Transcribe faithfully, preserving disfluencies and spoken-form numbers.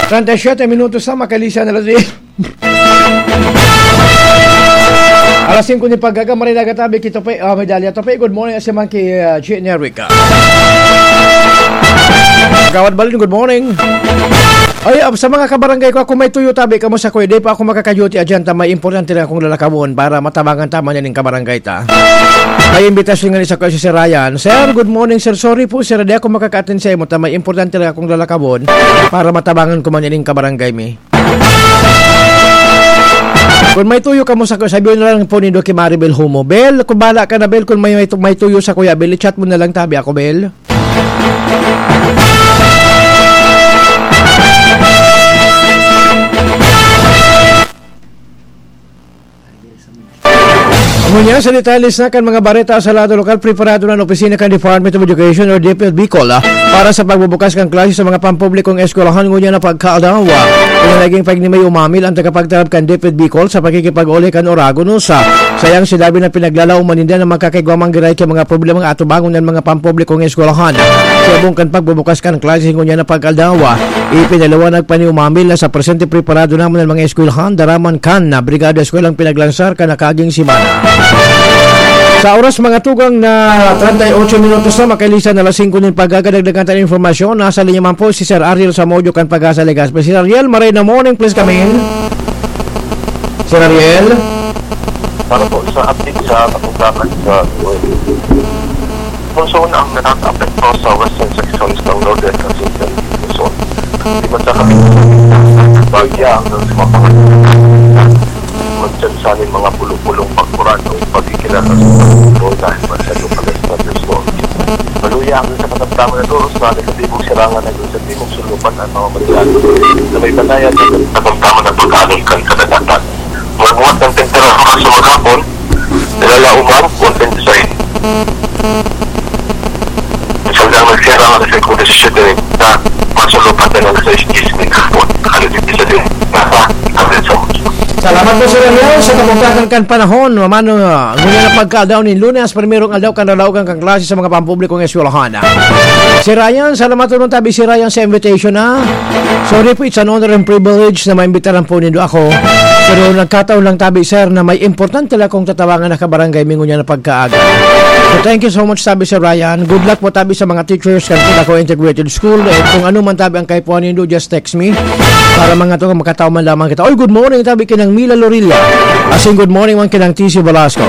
Treinta y siete minutos na, makalisan na alas singko. Alas singko ni pagkaga, maray nagatabi, kito pa, ah, medalya to pa. Good morning, si Monkey, ah, G N Erica. Kagawad Balin, good morning. Ay, ah, sa mga kabarangay ko, ako may tuyo tabi, kamo sa kuya, di pa ako makakaduty, adyan ta, may importante lang akong lalakawon para matabangan ta man yan yung kabarangay ta. May imbitasyon nga ni sa kuya si Sir Ryan. "Sir, good morning, sir. Sorry po, sir, di ako makaka-attend sa imo ta, may importante lang akong lalakawon para matabangan ko man yan yung kabarangay mi." Kung may tuyo kamo sa kuya, sabihin na lang po nindo kay Maribel Humo. "Bel, kung bala ka na, Bel, kung may, may, may tuyo sa kuya, Bel, i-chat mo na lang tabi ako, Bel." Ngunyan, sa detalye na kan mga bareta sa lado lokal, preparado na an opisina kan Department of Education or D P E D Bicol, ah, para sa pagbubukas kan klase sa mga pampublikong eskwelahan ngunyan na pagkaadlaw. Kaya naging pagni may umamil ang tagapagtarab kan D P E D Bicol sa pakikipag-uli kan Oragon Usa. Sayang sinabi na pinaglalaoman ninda na magkakaigwa man giray kay mga problemang atubangon ng mga pampublikong eskwelahan. Sa ibong kan pagbubukas kan klase ngunyan na pagkaadlaw, ipinaliwanag pa ni Umamil na sa presente preparado naman ang mga eskwelahan, daraman kan na Brigada Eskwela ang pinaglansar kan nakaaging semana. Sa oras mga tugang na treinta y ocho minutos na, makalisan na alas singko nin pagkaga, dagdagan ta nin impormasyon. Nasa linya man po si Sir Ariel Samodio kan Pag-asa Legazpi. Sir Ariel, maray na morning, please come in. Sir Ariel? Para po sa update sa Kapampangan sa Luzon ang nakakaapekto sa western sections ng Northern Luzon. Di man sa kami bagya hanggang sa mga pangalan. Magsansanin mga pulo-pulong pagkuran o pagkikilala sa mga dahil man sa lokal na thunderstorm. Maluya hanggang sa katamtaman na turos na negatibong sirangan hanggang sa timog sulupan ang mga maligado. Sa may banayad, katamtaman ang pagkaalon kan kadagatan. Magbuhat ng temperatura sa maghapon, nilalaoman, konting design. Siyang nagsira ang alas singko disisete na masulupat na ng alas sais diyes ng hapon. Ano din sa din? Nasa, nasa sa Salamat po, Sir Ariel, sa kabugtakan kan panahon. Mamano, ngunyan na pagkaadaw nin Lunes, primerong aldaw kan lalaogan kan klase sa mga pampublikong eskwelahan. Si Ryan, salamat po tabi si Ryan sa invitation, ha. Sorry po, it's an honor and privilege na maimbitaran po nindo ako. Pero nagkataon lang tabi, sir, na may importante lang akong tatabangan na kabarangay mi ngunyan na pagkaaga. So, thank you so much, sabi si Ryan. Good luck po tabi sa mga teachers kan Culaco Integrated School. Eh, kung ano man tabi ang kaipuhan nindo, just text me. Para mga to, makatawa man lamang kita. Oy, good morning, tabi kinang Mila Lorilla. As in, good morning, man kinang T C Velasco.